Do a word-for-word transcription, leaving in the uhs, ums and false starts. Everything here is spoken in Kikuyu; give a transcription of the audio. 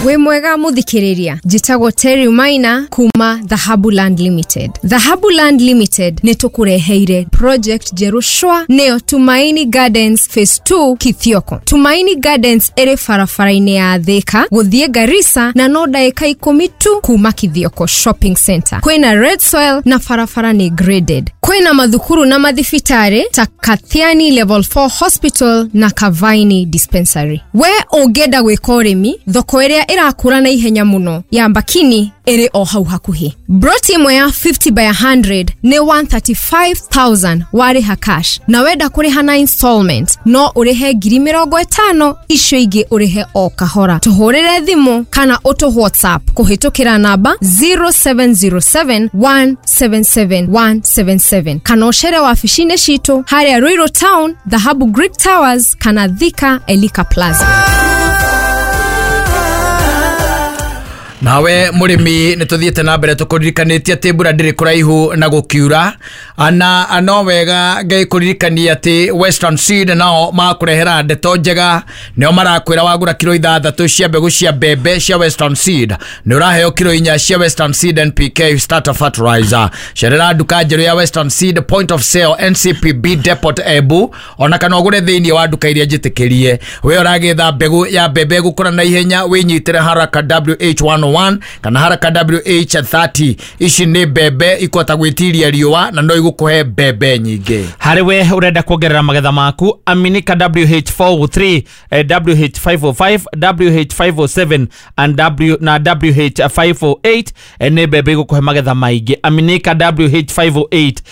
Wĩ mwega mũthikĩrĩria, njĩtagwo Terry Maina kuma Dhahabu Land Limited. Dhahabu Land Limited nĩ tũkũreheire project njerũ shwa, nĩyo Tumaini Gardens Phase two Kithioko. Tumaini Gardens ĩrĩ barabara-inĩ ya Thika gũthiĩ Garissa na no ndagĩka ikũmi tu kuma Kithioko Shopping Center. Kwĩna red soil na barabara nĩ graded. Kwĩna mathukuru na mathibitarĩ ta Kathiani Level four Hospital na Kavaini Dispensary. We ũngĩenda gwĩka ũrĩmi, thoko ĩrĩa ĩrakũra na ihenya mũno ya Mbakini ĩrĩ o hau hakuhĩ. Broti ĩmwe ya fifty by one hundred nĩ one hundred thirty-five thousand warĩha cash, na wenda kũrĩha na installment no ũrĩhe ngiri mĩrongo ĩtano, icio ingĩ ũrĩhe o kahora. Tũhũrĩre thimũ kana ũtũ WhatsApp kũhĩtũkĩra namba zero seven zero seven one seven seven one seven seven kana ũcere wabici-inĩ citũ harĩa Ruiru Town, Dhahabu Greek Towers, kana Thika Elika Plaza. Nawe mũrĩmi, nĩ tũthiĩte na mbere tũkũririkanĩtie atĩ mbura ndĩrĩ kũraihu na gũkiura, na no wega Ngai kũririkania atĩ Western Seed nao makũrehera ndeto njega. Nĩo marakwĩra wagũra kiro ithathatũ cia mbegũ cia mbembe cia Western Seed, nĩ ũraheo kiro inya cia Western Seed N P K starter fertilizer. Cerera nduka njerũ ya Western Seed, point of sale N C P B Depot Embu, ona kana ũgũre thĩinĩ wa nduka iria njĩtĩkĩrie. We ũragĩetha mbegũ ya mbembe gũkũra na ihenya, wĩnyitĩre Haraka W H one oh one kana Haraka W H thirty. Ici nĩ mbembe ikũhota gwĩtiria riũa na no igũkũhe mbembe nyingĩ. Harĩ we ũrenda kuongerera magetha maku, aminika W H four oh three, eh, W H five oh five, W H five oh seven and W na W H five oh eight, eh, nĩ mbembe igũkũhe magetha maingĩ. Aminika W H five oh eight.